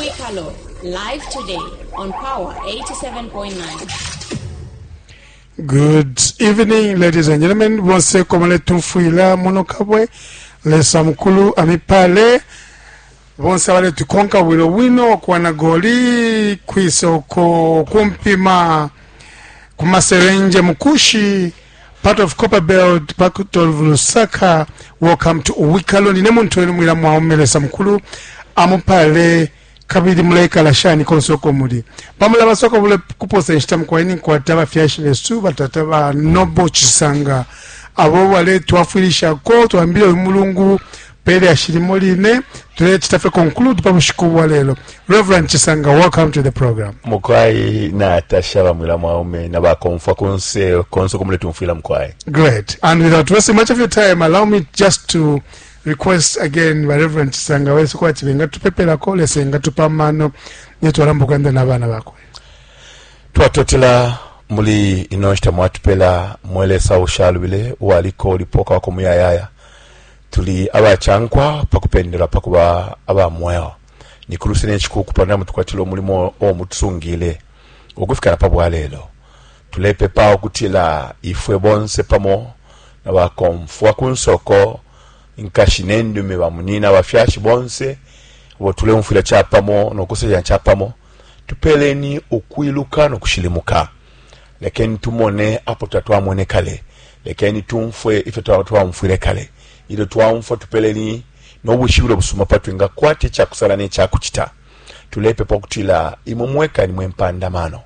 Uwikalo, live today on Power 87.9. Good evening, ladies and gentlemen. Bonse komale tumfwila muno kabwe. Lesa mukulu amipale. Bonse abale tukonka bwino bwino kwa nagoli kwisoko kumpima kumaserenje mukushi part of Copperbelt part of Lusaka. Welcome to Uwikalo. Nine muntu wenu mwila mwaume Lesa mukulu amupale kabili muleikala shani konse uko muli pamula basoko bule kuposa inshita mukwaini nkwata abafyashi besu batata ba nobo chisanga abo baletwafwilishako twambile uyu mulungu pele ashilimo line tulecita fye conclude pa bushiku bwa lelo Reverend Chisanga, welcome to the program. Mukwai natasha bamwila mwaume na bakomfwa kunse konse uko muletumfwila mukwai. Great. And without wasting much of your time, allow me just to request again ba Reverend Chisanga wesu kwati bengatupepelako Lesa engatupa amano ne twalambo kwenda na bana bakwe. Twatotela muli ino nshita mwatupela mwe Lesa ushalubile uwaliko ulipo ukawako muyayaya. Tuli abacankwa pa kupendelwa pa kuba aba mweo. Ni ku luse ne cikuuku pantu namutukwatila umulimo uo mutusungiile ukufika na pa bwa lelo. Tulepepa ukutila ifwe bonse pamo na bakomfwa ku nsoko, inkashi ne ndume, bamunyina, abafyashi bonse abo tuleumfwila capamo no kusefya capamo, tupeleni ukwiluka no kushilimuka. Lekeni tumone apo tatwamwene kale. Lekeni tumfwe ifyo twaumfwile kale. Ilyo twaumfwa, tupeleni no bwishibilo busuma pa twingakwata icakusala ne cakucita. Tulepepa ukutila imwe mweka ni mwe mpanda mano.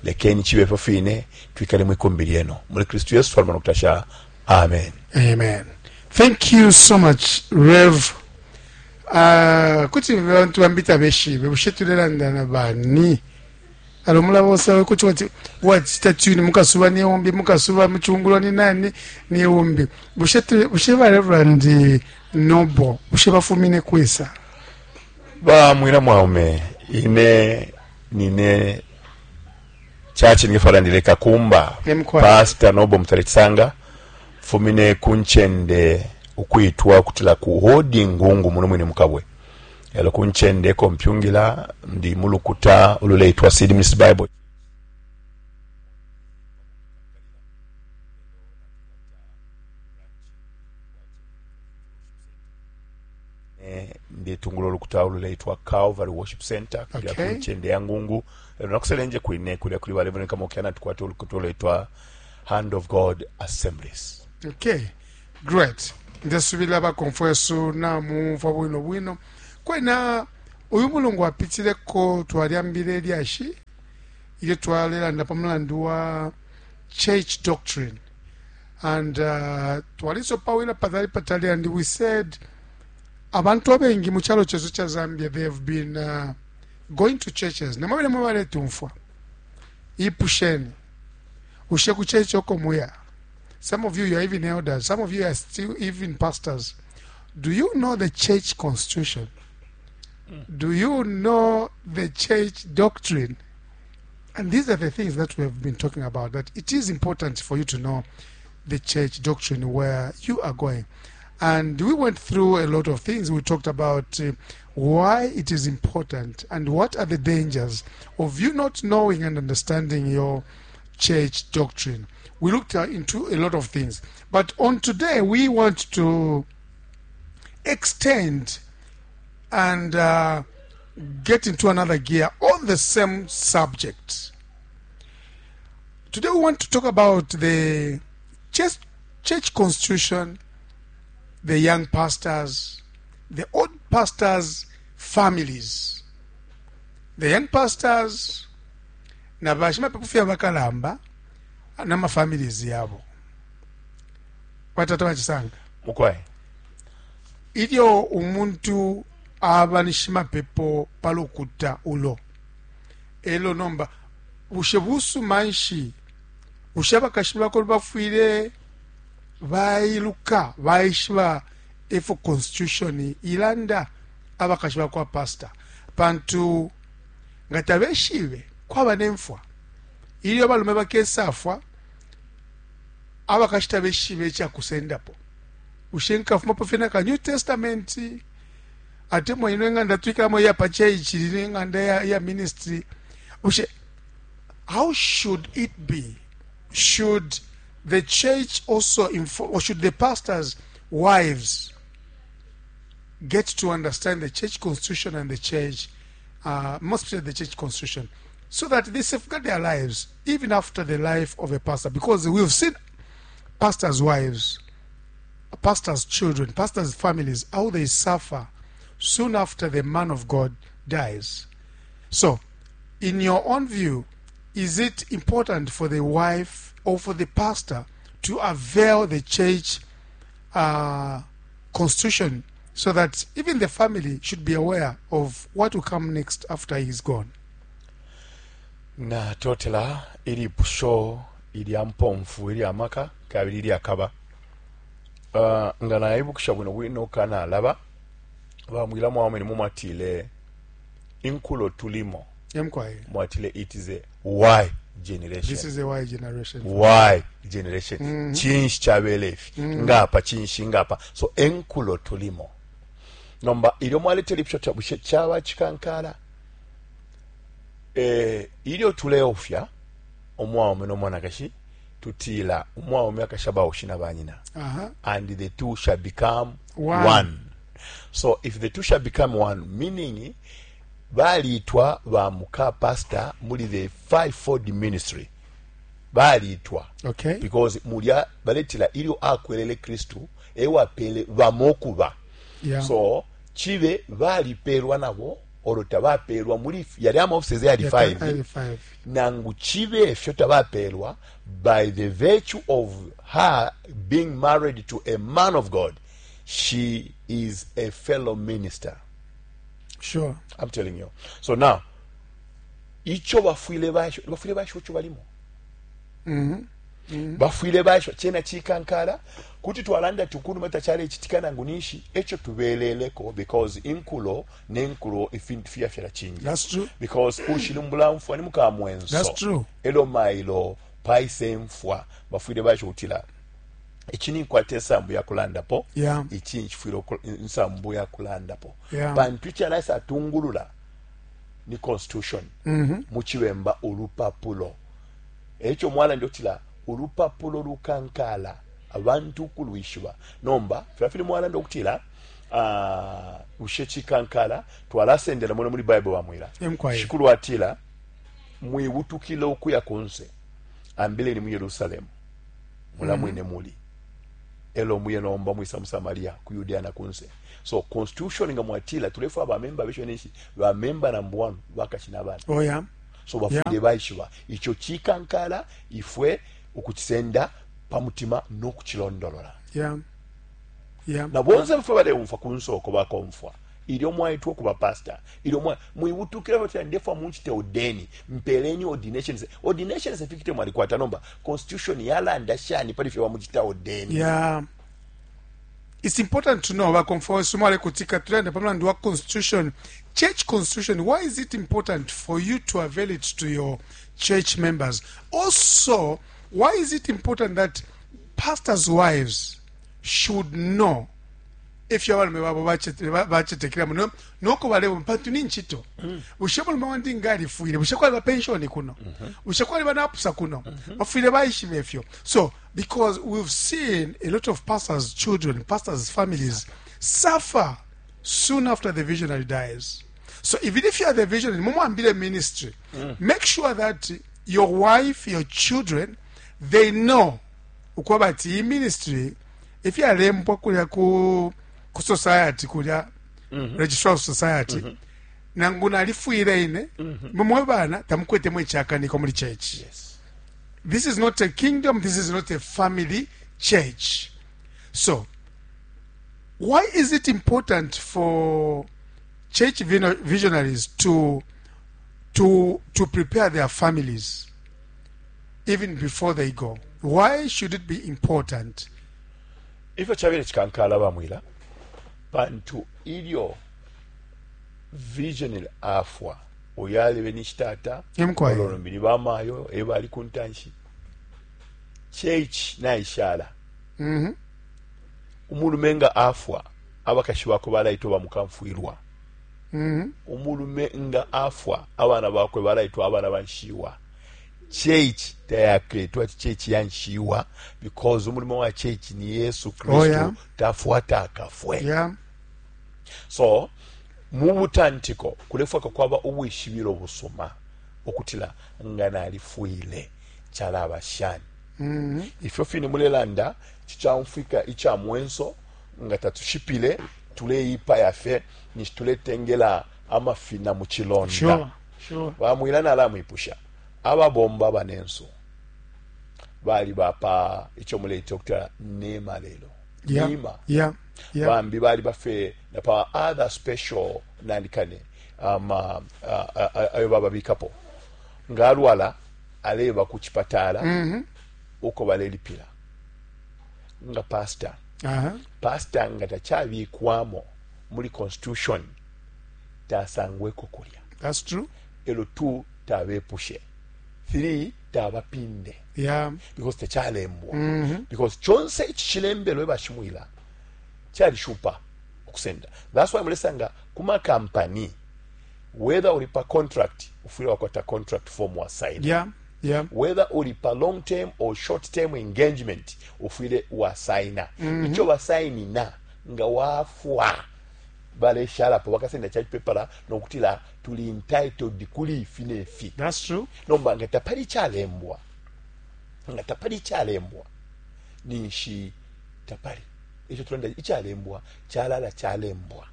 Lekeni cibe ifyo fine, twikale mwi kumbi lyenu. Muli Kristu Yesu twalomba no kutasha. Amen. Amen. Thank you so much, Rev. Uh, kuti bantu bambi tabeshibe bushe tulelanda na bani alo mulaba kuti wati wachita tune mukasuba ni umbi mukasuba muchungulo ni nani ni umbi bushe bushe ba Reverend Noble bushe bafumine kwisa ba mwina mwaume ine nine chachi ngefalandile kakumba pastor Noble Mutale fumine kuncende ukwitwa ukutila ku hodi ngungu muno mwine mukabwe elo ku ncende eko mpyungila ndi mulukuta ululeitwa Seed Ministry Bible ndetungula ulukuta ululeitwa Calvary Worship Center kulya okay. ku ncende ya Ngungu elo nakuselenje kwine kulya kuli ba Reverend Kamokiana tukwata ulukuta ululeitwa Hand of God Assemblies. Okay, great. Ndesubila bakomfwesu namumfwa bwino bwino. Kwena uyu mulungu apitileko twalyambile ilyashi ilyo twalelanda pa mulandu wa church doctrine and uh, twalisopawila patali patali and we said abantu abengi mu chalo chesu cha Zambia they have been uh, going to churches namwe bene baletumfwa ipusheni Bushe ku church uko muya some of you you are even elders some of you are still even pastors do you know the church constitution mm. do you know the church doctrine and these are the things that we have been talking about that it is important for you to know the church doctrine where you are going and we went through a lot of things we talked about uh, why it is important and what are the dangers of you not knowing and understanding your church doctrine. We looked uh, into a lot of things. But on today, we want to extend and uh, get into another gear on the same subject. Today, we want to talk about the church, church constitution, the young pastors, the old pastors' families. The young pastors na bashimapepo fye abakalamba na mafamilies yabo. Batata bachisanga. Mukwai. Ilyo umuntu aba ni shimapepo pa lukuta ulo elo nomba bushe busuma nshi bushe abakashi bako bafwile bailuka baishiba ifyo constitution ilanda abakashi bakwa pastor pantu nga tabeshibe kwaba ne mfwa ilyo abalume bakesafwa abakashi tabeshibe ica kusendapo bushe nkafumapo fye na ka new testament Atemwa ino ing'anda twikalamo iya pa church, ino ing'anda ya ministry. Bushe how should it be? Should the church also inform, or should the pastors' wives get to understand the church constitution and the church, most especially the church constitution, so that they safeguard their lives even after the life of a pastor? Because we've seen pastors' wives, pastors' children, pastors' families, how they suffer soon after the man of God dies. So, in your own view, is it important for the wife or for the pastor to avail the church constitution so that even the family should be aware of what will come next after he's gone? Natotela ilipusho ilya mpomfu ilya maka kabili ilyakaba. Nga naibukisha bwino bwino kanalaba bamwila mwamwene mumwatile inkulo tulimo. Emkwaye. Mwatile it is a Y generation. This is a Y generation. Y generation. Chinshi chabele ifi. Ngapa chinshi ngapa. So enkulo tulimo. Nomba ilyo mwaletele ipusho cha bushe chaba chikankala. Ilyo tuleofya umwaume no mwanakashi tutila umwaume akashaba ushina banyina. And the two shall become one. One. So if the two shall become one, meaning balitwa ba muka pastor muli the fivefold ministry. Balitwa. Okay. Because mulya baletila ilyo akwelele Kristu ewapele bamokuba. Yeah. So chibe balipelwa nabo olo tabapelwa muli yali ama offices yali Yeah, 5. yali 5. Nangu chibe efyo tabapelwa by the virtue of her being married to a man of God, she is a fellow minister. Sure. I'm telling you. So now, icho bafwile basho, bafwile basho icho balimo. Bafwile basho chena chikankala kuti twalanda tukunu mata chale chitikana ngunishi echo tubeleleko because inkulo nenkulo ifintu fya fyala chinja. That's true. Because ushilumbula mfwa ni mukamwenso. That's true. Elo mailo paise mfwa bafwile basho utila. Ichi ni kwate nsambu ya kulandapo. Yeah. Ichi nchifwile nsambu ya kulandapo. Yeah. Pantu ichi alaisa atungulula ni constitution. Muchibemba ulupapulo. Echo mwana ndio tila ulupapulo lukankala abantu kulwishiba. Nomba filafili mwana ndio kutila, ushe chikankala twalasendela mwana muri Bible bamwira. Emkwaye. Shikulu atila mwibutukile okuya kunse ambile ni mu Yerusalemu. Mula mwine muli. Elo muye nomba mwisa mu Samaria ku Yudea na kunse. So constitution nga mwatila tulefu aba member besho nishi ba member number 1 bakashina bana. Oh yeah. So bafule Yeah. baishiba icho chikankala ifwe ukuchisenda pamutima nokuchilondolola. Yeah. Yeah. Na bonse bafwe bale umfa kunsoko bakomfwa. Ilyo mwaitwa kuba pastor. Ilyo mwa mwibutukira bati ndefa munchite odeni mpeleni ordination. Ordination certificate mwalikwata nomba constitution yalanda shani pali fye wamuchita odeni. Yeah. It's important to know bakomfwa sumale kutika tulanda pamulandu wa constitution, church constitution. Why is it important for you to avail it to your church members? Also, why is it important that pastors' wives should know if you abalume babo bachetekera muno noko balebo pantu ni nchito. Bushe mulume wandi ngalifwile, bushe kwali ba pension kuno, bushe kwali banapusa kuno, bafwile baishibe ifyo. So because we've seen a lot of pastors' children, pastors' families suffer soon after the visionary dies. So even if you are the visionary, mumwambile ministry, make sure that your wife, your children, they know ukwaba ati iyi ministry if yalembwa kulya ku society kulya registrar of society, nangu nalifwile ine, mumwe bana tamukwetemo ichakaniko muri church. Yes. This is not a kingdom, this is not a family church. So why is it important for church visionaries to prepare their families even before they go? Why should it be important? Ifyo chabele chikankala bamwila pantu ilyo visionary afwa oyale benishitata Emkwaye. ololombili bamayo ebali kuntanshi church naishala. Umulumenga afwa. Abakashi bakwe balaitwa bamukamfwilwa. Umulume nga afwa, abana bakwe balaitwa abana ba nshiwa. Church tayaketwa ati church ya nshiwa because umulimo wa church ni Yesu Kristu. Oh, yeah. Tafwa takafwe. Yeah. So mu butantiko kulefwaka kwaba ubwishibilo busuma ukutila nga nalifwile calaba shani. Ifyo fine mulelanda cicaumfwika ica mwenso nga tatushipile tuleipaya fye ninshi tuletengela amafina mu cilonda. Sure, sure. Bamwila nalamwipusha ababomba abanensu bali bapa ico muleita ukutila nema lelo. Yeah. Nema. Yeah. Yeah. Bambi bali bafe na pa other special nanikane ama ayo bababikapo nga alwala aleba ku chipatala uko balelipila nga pastor. Pastor nga tachabikwamo muli constitution tasangweko kulya. That's true. Elo 2 tabepushe, 3 tabapinde. Yeah. Because tachalembwa. Because chonse ichi chilembelwe bashimwila chalishupa okusenda. That's why mulesanga kuma company whether uli pa contract ufwile wakwata contract form wa sign. Yeah. Yeah. Whether uli pa long term or short term engagement ufwile wa signa. Icho wa sign na nga wafwa baleshalapo bakasenda church paper nokutila tuli entitled kuli ifi ne fi. That's true. Nomba nga tapali chalembwa, nga tapali chalembwa ninshi tapali icho tulanda ichalembwa chalala chalembwa.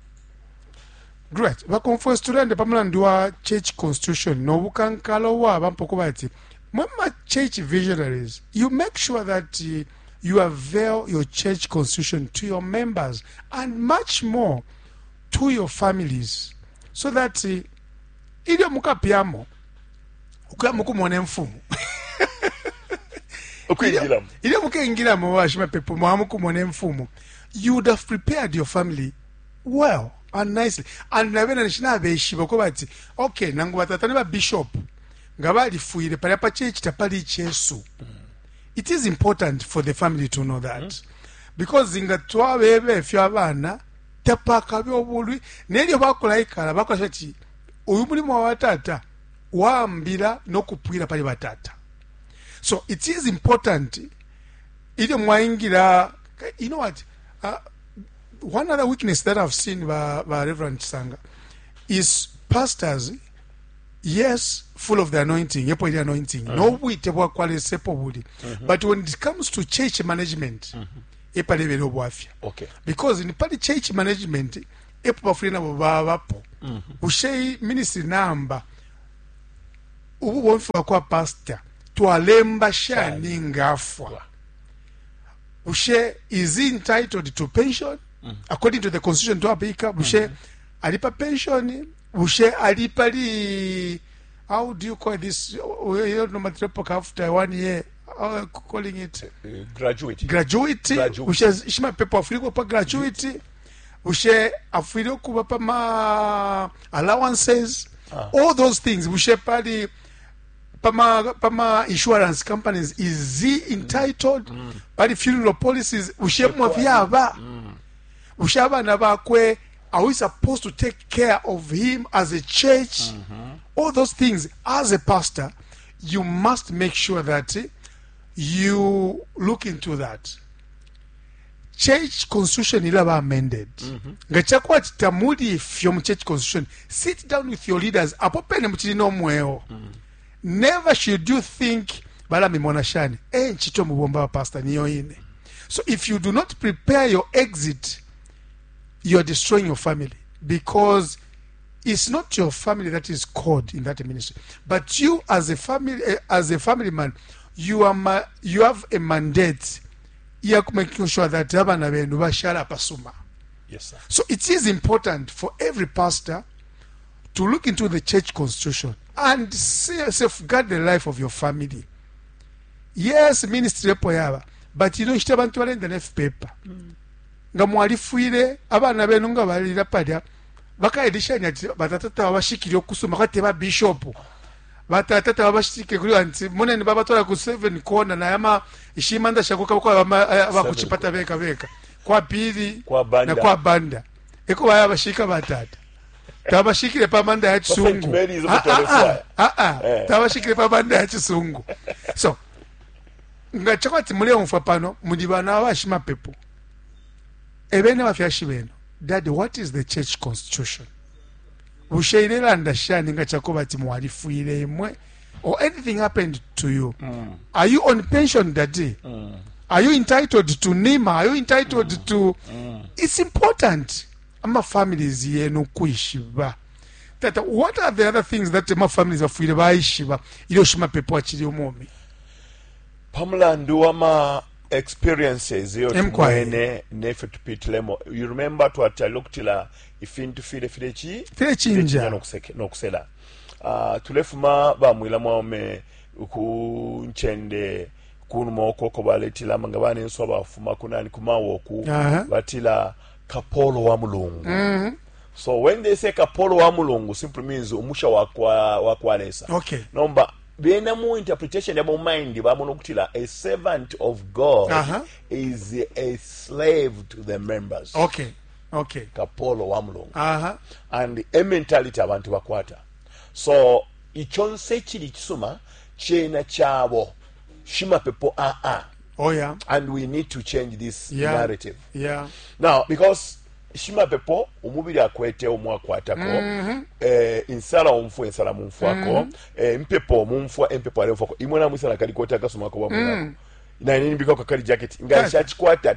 Great. Bakonfwesi tulande pamulandu wa church constitution no bukankala waba mpoko bati mwema church visionaries, you make sure that you avail your church constitution to your members and much more to your families, so that ilyo mukapyamo ukuya mukumona imfumu. Ukwingilamo. Ilyo mukengilamo bashimapepo mwamukumona imfumu, you would have prepared your family well and nicely. And nabena nishinabeshiba ko bati okay nangu batata ne ba bishop nga balifwile palya pa church tapali Jesu. It is important for the family to know that. Because nga twabebe fyo abana tapakabe obulwi nelyo bakulaikala bakola ati uyu mulimo wa tata waambila no kupwila pali batata. So it is important ilyo mwaingira, you know what, one other weakness that I've seen by Reverend Sanga is pastors, yes, full of the anointing, yepo ile anointing, no bwite bwa kwale sepo buli. But when it comes to church management, epa lebele obwafya. Because in pali church management, epo bafuli nabo babapo. Ushe ministry number, ubu bomfi kwa pastor, twalemba shani ngafwa. Ushe is he entitled to pension? According to the constitution twapika, bushe alipa pension, bushe alipa li, how do you call this? You know, after 1 year, how are you calling it? Graduate. Graduate. Graduate. Bushe shima pepo afuriko pa graduate. Bushe afuriko kuba pa ma allowances. All those things. Bushe pali pama insurance companies, is he entitled? Pali funeral policies, bushe mwavyaba. Bushe abana bakwe, are we supposed to take care of him as a church? All those things, as a pastor, you must make sure that you look into that. Church constitution ilaba amended. Nga chakwa chitamuli ifyo mu church constitution, sit down with your leaders. Apo pene muchili no mweo. Never should you think bala mimona shani. Nchito mubomba wa pastor niyo ine. So if you do not prepare your exit, you are destroying your family, because it's not your family that is called in that ministry, but you as a family, as a family man, you have a mandate ya making sure that abana benu bashala pasuma. Yes, sir. So it is important for every pastor to look into the church constitution and safeguard the life of your family. Yes, ministry epo yaba, but you know nshita abantu balenda ne paper. Nga mwalifwile abana benu nga balira palya bakaedishanya ati batata babashikire okusoma kwate ba bishop. Batata babashikire kuri anti munene babatwara ku 7 corner na yama ishimanda shakuka kwa abakuchipata beka beka kwa pili kwa banda na kwa banda. Eko baya bashika batata. Tabashikile pa manda ya chisungu. Ah, ah, ah, ah. Eh. Tabashikile pa manda ya chisungu. So, nga chakwati muleumfwa pano muli bana abashimapepo. Ebene abafyashi benu. Daddy, what is the church constitution? Bushe ilelanda shani nga chakuba ati mwalifwile imwe or anything happened to you? Mm. Are you on pension, daddy? Mm. Are you entitled to NIMA? Are you entitled mm. to mm. It's important. Ama families yenu kwishiba. Tata, what are the other things that ama families bafwile baishiba ilyo shimapepo achili umumi? Pamulandu wama experiences iyo tumwene nefyo tupitilemo. You remember twatalile ukutila ifintu file filechi filechinja nokusela. Uh, tulefuma bamwila mwaume ku ncende kunuma uko uko baletila nga banenso abafuma kunani kumawoku uh -huh. batila kapolo wa mulungu mm -hmm. So when they say kapolo wa mulungu simply means umusha wakwa wakwa Lesa. Okay. Nomba bena mu interpretation yabo mind bamona ukutila a servant of God uh -huh. is a slave to the members. Okay. Okay. Kapolo wa mulungu. Uh -huh. And a mentality abantu bakwata. So ichonse chili chisuma chena chabo shimapepo a ah, a. Ah. Oh yeah. And we need to change this yeah. narrative. Yeah. Now because shimapepo umubili akwete umo akwatako mm -hmm. eh, insala umfwa insala mumfwako mm -hmm. eh, impepo mumfwa impepo alemfwako imwe namwisa nakalikoti akasumako bamwinako mm. Naine nimbikako kali jacket nga nshachikwata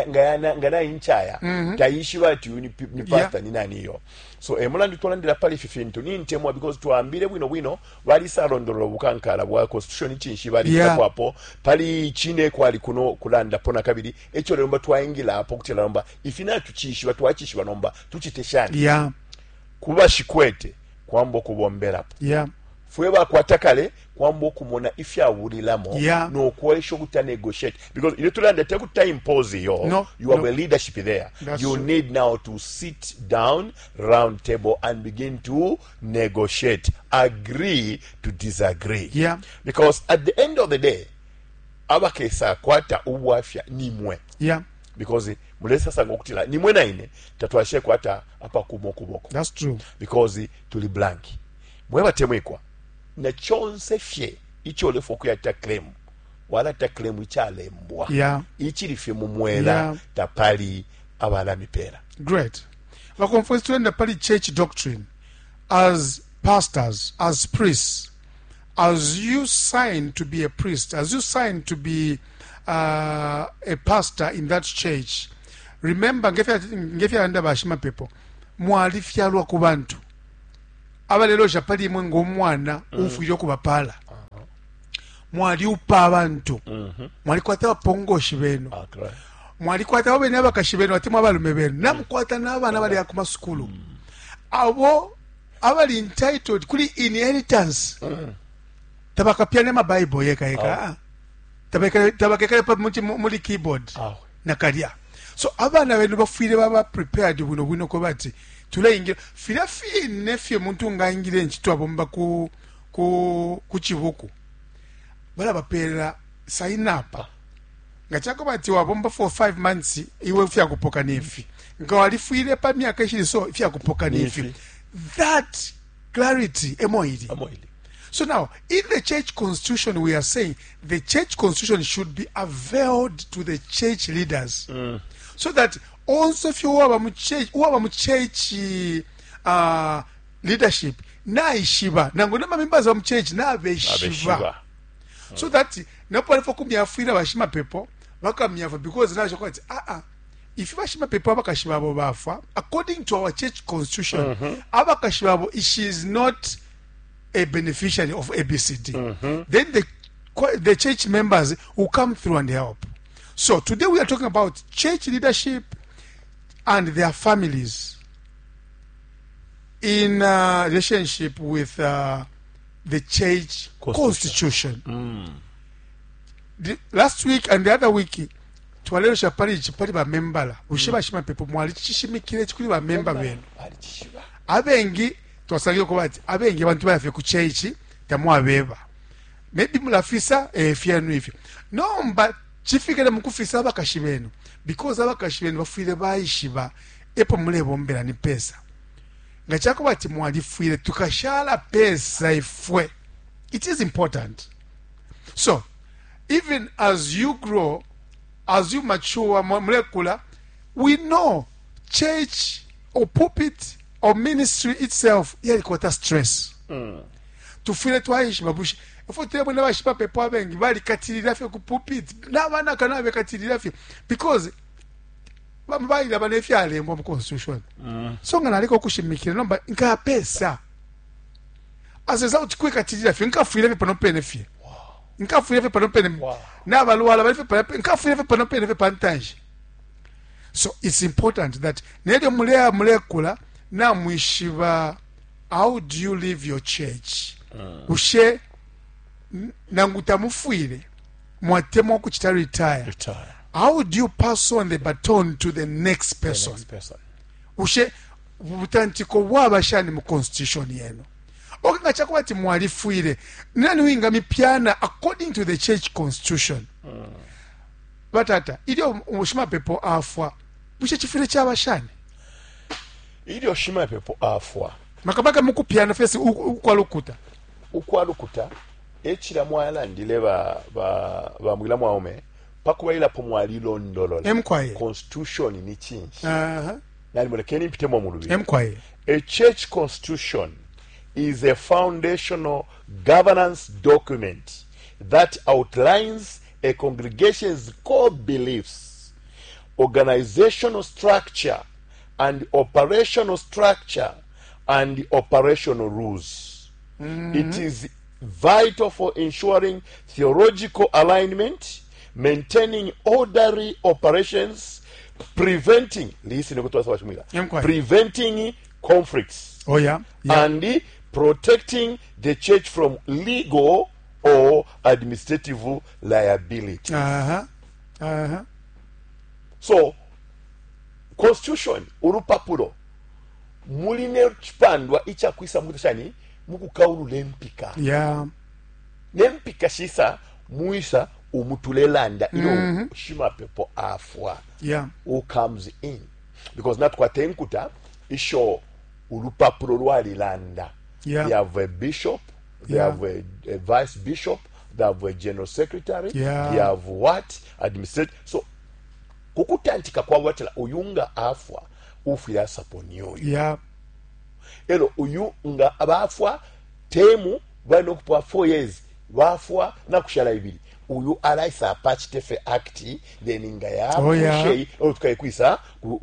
nga nga nainchaya mm -hmm. taishiba ati uyu ni, ni pastor yeah. ni nani iyo so eh, mulandu twalandila pali ifi fintu nintemwa because twambile bwino bwino balisalondolola ubukankala bwa constitution cinshi balitapo yeah. Pali chine kwali kuno kulandapo na kabili eco lero twaingila apo kutila nomba ifi natucishiba twacishiba nomba tucite shani yeah. Kuba shikwete kwamba okubomberapo yeah. Fwe bakwata kale kwamba okumona ifyabulilamo yeah. Nokwesha okuta negotiate because ilyo tulanda tekuta impose yo no, you have no. A leadership there. That's you true. Need now to sit down round table and begin to negotiate, agree to disagree yeah. Because at the end of the day abakesa kwata ubwafya nimwe yeah. Because mulesasanga okutila nimwe naine tatwashe kwata apakumo kuboko. That's true. Because tuli blank mwebatemwikwa na chonse fye icho lefu okuyata claim wala ta claim ichalembwa yeah. Ichili fye mumwela yeah. Tapali abalamipera. Great. Bakomfwesi tulenda pali church doctrine as pastors, as priests, as you sign to be a priest, as you sign to be uh, a pastor in that church, remember ngefyalanda bashimapepo mwalifyalwa ku bantu abalelosha pali imwe ng'omwana mm. Ufwile okubapala uh-huh. Mwaliupa abantu mm-hmm. Mwalikwata abapongoshi benu ah, mwalikwata abo bene abakashi benu atemwa abalume benu namukwata n'abana bali ku masukulu mm. Abo abali entitled kuli inheritance mm. Tabakapyane amabible yeka yeka oh. Tabakekale pa muli keyboard oh. Nakalya so abana benu bafwile baba prepared bwino bwino ko bati tuleingira filya fine fye muntu ngaingile enchito abomba ku ku ku chibuku balabapeela sign up nga chako bati wabomba for 5 months iwe fyakupoka nefi nga walifwile pa myaka ishili so ifyakupoka nefi that clarity emo ili. So now, in the church constitution, we are saying the church constitution should be availed to the church leaders. So that also if you waba mu church, uwaba mu church leadership, naishiba, nangu nama members wa mu church, nabeshiba. Abeshiba. So that, napo alifo kumyafwila bashimapepo, bakamyafwa because nasho kwati, ah ah, if bashimapepo abakashi babo bafa, according to our church constitution, mm -hmm. Abakashi babo, she is not a beneficiary of ABCD. Mm -hmm. Then the church members will come through and help. So today we are talking about church leadership and their families in uh, relationship with the church constitution. Constitution. The, last week and the other week twalelosha pali ichi pali bamembala bushe bashimapepo mwalicishimikile ichi kuli bamemba benu abengi twasangile kuba ati abengi abantu bayafye ku church tamwabeba maybe mulafisa eh, fyenu ifyo nomba chifikile mukufisa abakashi benu because abakashi benu bafwile baishiba. Epo mulebombela ni pesa? Nga cakuba ati mwalifwile, tukashala pesa ifwe? It is important. So even as you grow, as you mature, mulekula, we know church or pulpit or ministry itself yalikwata stress. Tufwile twaishiba bushe ifwe tulebona bashimapepo abengi balikatilila fye ku pulpit nabanaka nabekatilila fye because bailaba nefyalembwa mu constitution. So nga naleka ukushimikila nomba nkapesa as a result kwikatilila fye, nkafwile fye pano pene fye, nkafwile fye pano pene. Nabalwala bali fye pano pene, nkafwile fye pano pene fye pantanshi. So it's important that nelyo muleya mulekula namwishiba how do you live your church. Bushe nangu tamufwile mwatemwa ukuchita retire, Retire. How do you pass on the baton to the next person? The next person. Bushe butantiko bwaba shani mu constitution yenu? Okay, nga chakuba ati mwalifwile, nani wingamipyana according to the church constitution? Batata, ilyo shimapepo afwa, bushe chifwile chaba shani? Ilyo shimapepo afwa, makabaka mukupyana fesi ukwalukuta. Ukwalukuta echila mwalandile ba ba ba mwila mwaume pakubaila po mwalilondolola. Emkwaye. Constitution ni chinshi. Uh-huh. Nali mulekeni mpitemo mu lubili. Emkwaye. A church constitution is a foundational governance document that outlines a congregation's core beliefs, organizational structure, and operational structure and operational rules. It is vital for ensuring theological alignment, maintaining orderly operations, preventing, listen to what Inquiry. preventing conflicts. Oh, yeah. Yeah. And protecting the church from legal or administrative liability. Uh-huh. Uh-huh. So, constitution, urupapulo, muline chipandwa ichakwisa mukuta shani, mukukaulula empika. Yeah. Nempika shisa muisa umutulelanda ilo shimapepo afwa. Yeah. Who comes in? Because natukwata enkuta isho ulupapulo lwalilanda. Yeah. They have a bishop, they Yeah. have a vice bishop, they have a general secretary, Yeah. they have what? Administrative. So kukutantika kwa watela uyunga afwa ufira saponyoyo. Yeah. Elo uyu nga abafwa temu bali nokupa 4 years bafwa na kushala ibili. Uyu alaisa apachite fe act then nga ya Oh, yeah. pushei, olo tukayikwisa ku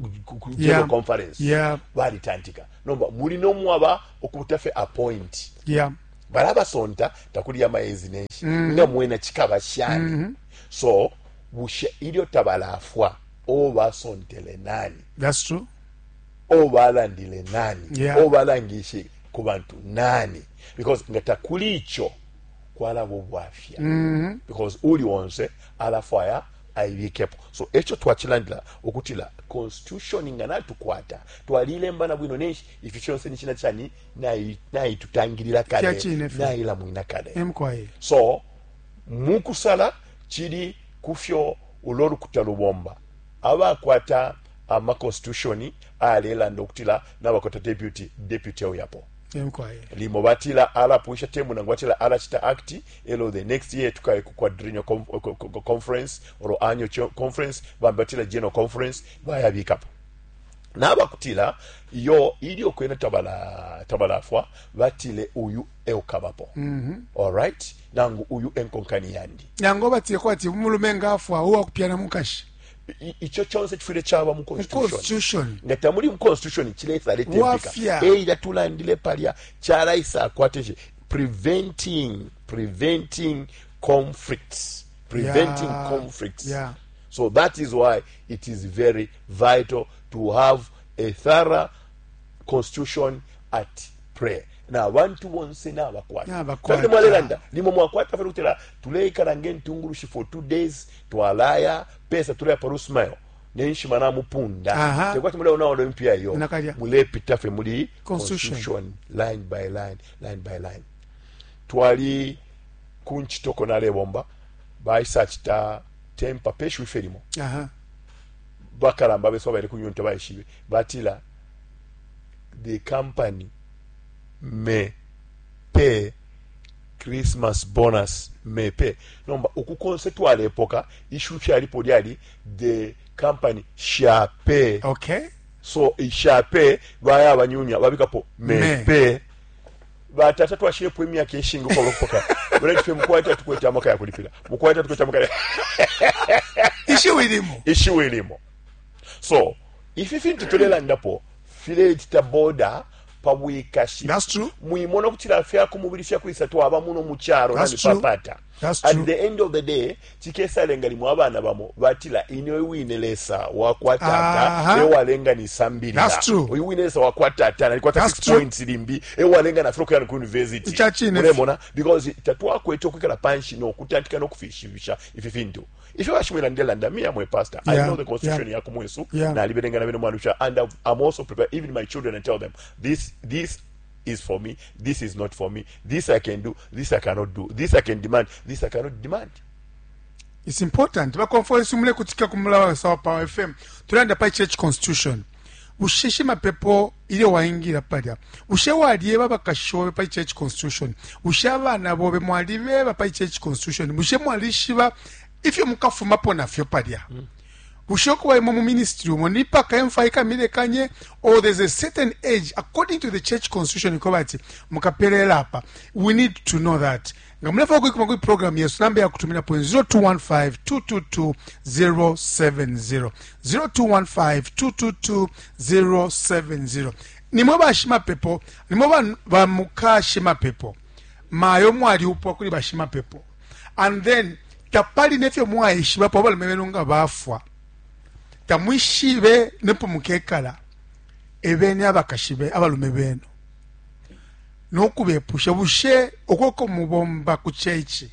general Yeah. conference. Yeah. Balitantika. Nomba muli nomwaba okubuta fe appoint. Yeah. Balabasonta takuli ya maezi nenshi. Nga mwena chikaba shani. So bushe ilyo tabalafwa obasontele nani? That's true. Obalandile nani? Yeah. Obalangishe ku bantu nani? Because nga takuli icho kwalabo bwafya. Because uli wonse alafwaya aibikepo. So echo twachilandila okutila constitution nga natukwata twalilemba na bwino nenshi ifi fyonse ni china chani naitutangirira kale, Fya chine fye. naila mwina kale. Emkwaye. So mukusala chili kufyo ulolukuta lubomba abakwata ama constitution alelanda okutila nabakwata deputy oyapo. Emkwaye. Limo batila ala puisha temu nangu batila ala chita act elo the next year tukaye ku quadrennial conference or annual conference bambatila general conference bayabikapo. Nabakutila yo ilyo kwena tabalafwa batile uyu eukabapo. All right, nangu uyu enkonkani yandi. Nango batile kwati umulume ngafwa uwa kupyana mukashi. Icho chonse chifire chaba mu constitution. Constitution. Nga tamuli mu constitution chiletsa letempika. Wafya. Eira tulandile palya chalaisa akwateshe preventing conflicts. Preventing Yeah. conflicts. Yeah. So that is why it is very vital to have a thorough constitution at prayer. Na abantu bonse n'abakwata. N'abakwata. Kandi mwalelanda, limo mwakwata fere kutera tuleikala ng'entungulushi for 2 days twalaya pesa tuleya parusmayo nenshima namupunda. Aha. Tekwati mule unawo mpya yo. Nakalya. Mulepita fe muli Constitution. constitution line by line, line by line. Twali kunchitoko nalebomba baisachita tempa peshu ifelimo. Aha. bakalamba besu abaile ku union tabaishibe. Batila the company may pay Christmas bonus may pay. Nomba uku konse twalepoka issue fyalipo lyali the company shall pay. Okay. So shall pay baya banyunya babikapo may, may. pay. Batata twashilepo imyaka ishingi ukwabula ukupoka. Baleti fye mukwai tatukwete amaka ya kulipila. Mukwai tatukwete amaka ya Ishiwi limo. Ishiwi limo. So, ifi fintu tulelandapo filetita border pa bwikashi. That's true. Mwimona ukutila fya ku mubili fya kwisa twaba muno mu calo na That's true. mipapata. That's At true. the end of the day, chikesalenga limo abana bamo batila ine wine Lesa wakwa tata Aha. ewalenga nisambilila. That's true. Uyu wine Lesa wakwa tata nalikwata That's 6 true. points limbi ewalenga nafika kuya ku university. Ica cine. Mulemona because tatwakwete ukwikala panshi no kutantika no kufishibisha ifi fintu. Ifyo bashimwela ndelanda me am a pastor. I Yeah, know the constitution yeah. ya kumwesu Yeah. nalibelenga na bene mwanusha and I'm also prepared even my children and tell them this this is for me, this is not for me, this I can do, this I cannot do, this I can demand, this I cannot demand. It's important. Bakonfoesi mulekutika ku Mulawa Sawa Power FM. Tulanda pa church constitution. Bushe shimapepo ilyo waingila palya. Bushe walyeba abakashi bobe pa church constitution. Bushe abana bobe mwalibeba pa church constitution. Bushe mwalishiba ifyo mukafumapo nafyo palya. Bushe ukuba imwe mu ministry umo ni paka emfa ikamilekanye or there's a certain age according to the church constitution ikoba ati mukapelela apa. We need to know that. Nga mulefwaya ukuikuma kuli program yesu namba ya kutumina po 0215 222 070 0215 222 070. Nimwe bashimapepo, nimwe bamuka shimapepo. Mayo mwaliupwa kuli bashimapepo. And then tapali nefyo mwaishibapo abalume benu nga bafwa. Tamwishibe nepo mukekala. Ebeni abakashibe abalume benu. Nokubepusha bushe okoko mubomba ku church.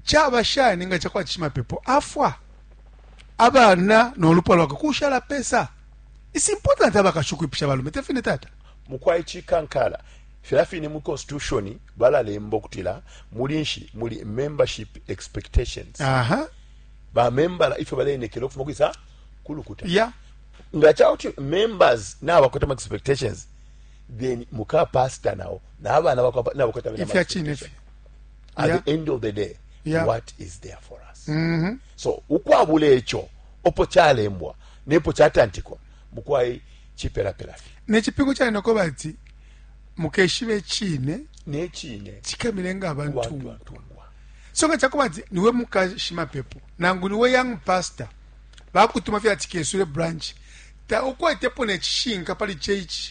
Chaba shani nga chakwa chimapepo afwa. Abana nolupwa lwakwe kushala pesa. It's important abakashukuipisha abalume tefine tata. Mukwai chikankala. Filafini mu constitution balalemba okutila muli nshi muli membership expectations. Aha. Ba member ifyo balenekela okufuma kwisa kulukuta. Yeah. Nga chauti members na bakwata expectations then muka pastor nao na abana bakwa na bakwata Ifya chine fi. At Yeah. the end of the day, Yeah. what is there for us? So ukwabula echo opo chalembwa nepo chatantikwa mukwai chiperapera fi. Nechipingo cha noko bati mukeshibe chine Nechine chikamilenga abantu. Abantu. So nga chakuba ati niwe mukashimapepo nangu niwe young pastor bakutuma fya tikesule branch ta ukwetepo nechishinka pali church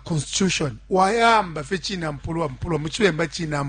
constitution wayamba fe china mpulwa mpulwa muchibemba china.